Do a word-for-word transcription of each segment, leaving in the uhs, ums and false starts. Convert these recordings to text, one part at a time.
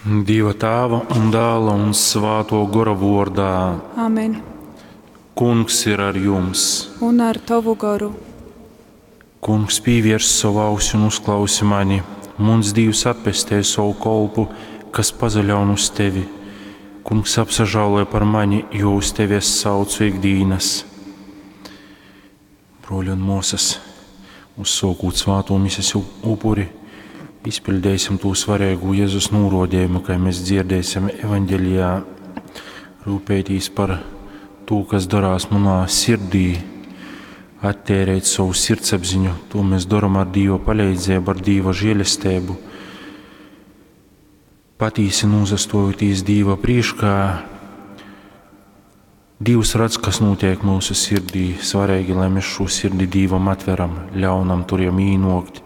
Dieva Tāva un Dāla un Svāto Gora vordā. Amen. Kungs ir ar jums. Un ar tavu goru. Kungs pievērs savu ausi un uzklausi mani. Muns Dievs atpestē savu kolpu, kas pazaļaun uz tevi. Kungs apsažāloja par mani, jo uz tevi es saucu ikdienas. Broļi un mūsas, uzsokūt svāto mises upuri, izpildēsim to svarīgu Jēzus norodījumu, kā mēs dzirdēsim evaņģelijā, rūpētīs par to, kas darās manā sirdī, attērēt savu sirdsapziņu. To mēs darām ar Dieva palīdzību, ar Dieva žēlestību. Patīsi nozastojoties Dieva priekšā, Dievs redz, kas notiek mūsu sirdī. Svarīgi, lai mēs šo sirdi Dievam atveram, ļaunam tur jam īnokt,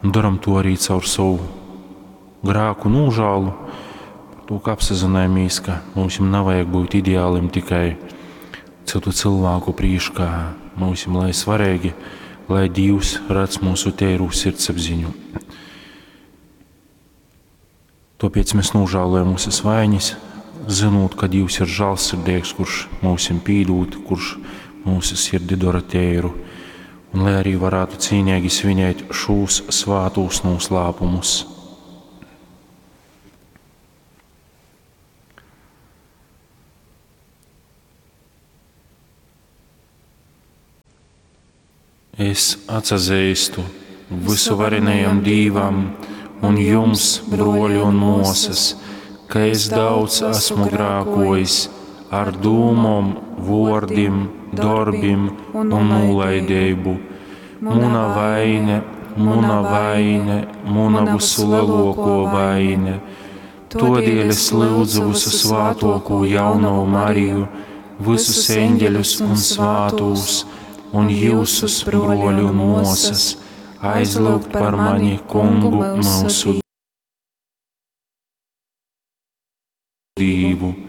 un daram to arī caur savu grēku nožēlu, par to, ka apsazinājamies, ka mums nav vajag būt ideālim tikai citu cilvēku priekšā. Mums lai svarīgi, lai Dievs redz mūsu tēru sirdsapziņu. Tāpēc mēs nožēlojam mūsu vainas, zinot, ka Dievs ir žēlsirdīgs, kurš mums pīdūt, kurš mūsu sirdi dara tēru, un lai arī varētu cīnīgi svinēt šos svātos noslēpumus. Es atsazīstu visuvarenajam Dievam un jums, broļi un mūsas, ka es daudz esmu grākojis ar dūmom, vordim, darbim un nolaidību. Muna vaine, muna vaine, muna visu lielāko vaine. Todēļ es lūdzu visu svātoko jauno Mariju, visus eņģeļus un svātos, un jūsus, broļi un mūsas, aizlūgt par mani kungu mūsu Dievu.